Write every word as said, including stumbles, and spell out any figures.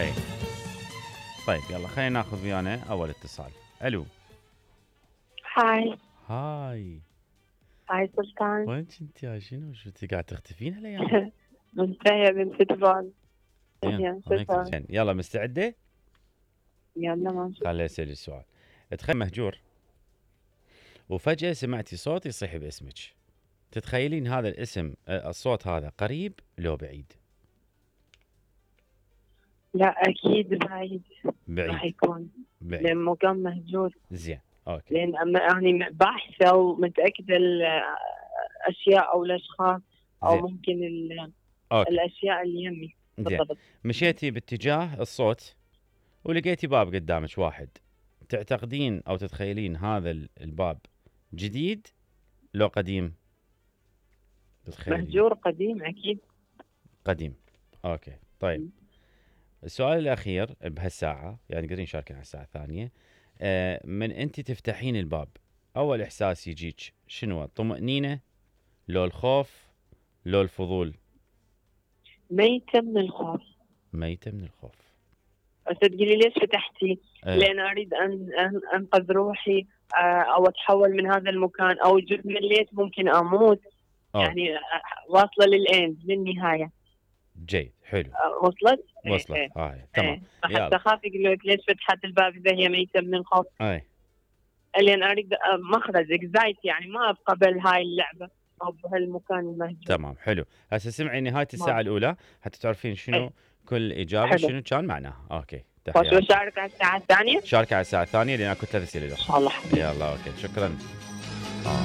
اي طيب يلا خلينا ناخذ ويانا اول اتصال. الو. هاي. هاي. هاي سلطان. وين كنت يا شنو شو انت قاعد تختفين هالايام؟ منتهية بنت فوتبول. زين زين يلا مستعدة؟ يلا ماشي. خليني اسأل السؤال. تخيل مهجور وفجأة سمعتي صوت يصيح باسمك، تتخيلين هذا الاسم الصوت هذا قريب لو بعيد؟ لا اكيد بعيد. بعيد راح يكون بعيد لان مكان مهجور. زين اوكي. لان يعني باحثه ومتاكده الاشياء او الاشخاص او زين. ممكن أوكي. الاشياء اللي يمي بالضبط. مشيتي باتجاه الصوت ولقيتي باب قدامك واحد، تعتقدين او تتخيلين هذا الباب جديد لو قديم؟ تتخيلين مهجور قديم اكيد. قديم. اوكي طيب. م. السؤال الاخير بهالساعه، يعني قادرين نشاركين على الساعه الثانيه. آه من انت تفتحين الباب اول احساس يجيك شنو؟ الطمأنينه لو الخوف لو الفضول؟ ميتة من الخوف. ميتة من الخوف. تقولي ليش فتحتي؟ أه. لأن أريد أن أنقذ روحي أو أتحول من هذا المكان أو جزء من الليل ممكن أموت. أوه. يعني واصلة للإند للنهاية. جيد حلو. وصلت؟ وصلت. ايه. آه. ايه. تمام. حتى خاف يقول لك ليش فتحت الباب إذا هي ميتة من الخوف؟ اي. لأن أريد مخرج إكزايت، يعني ما أبقى بهاي اللعبة أو بهالمكان المهجور. تمام حلو. هسه سمعي نهاية الساعة ما. الأولى حتى تعرفين شنو ايه. كل إجابة حلو. شنو كان معناها. أوكي تحياتي. شارك على الساعة الثانية؟ شارك على الساعة الثانية لأن أكو ثلاث أسئلة. الله. يلا أوكي شكرا.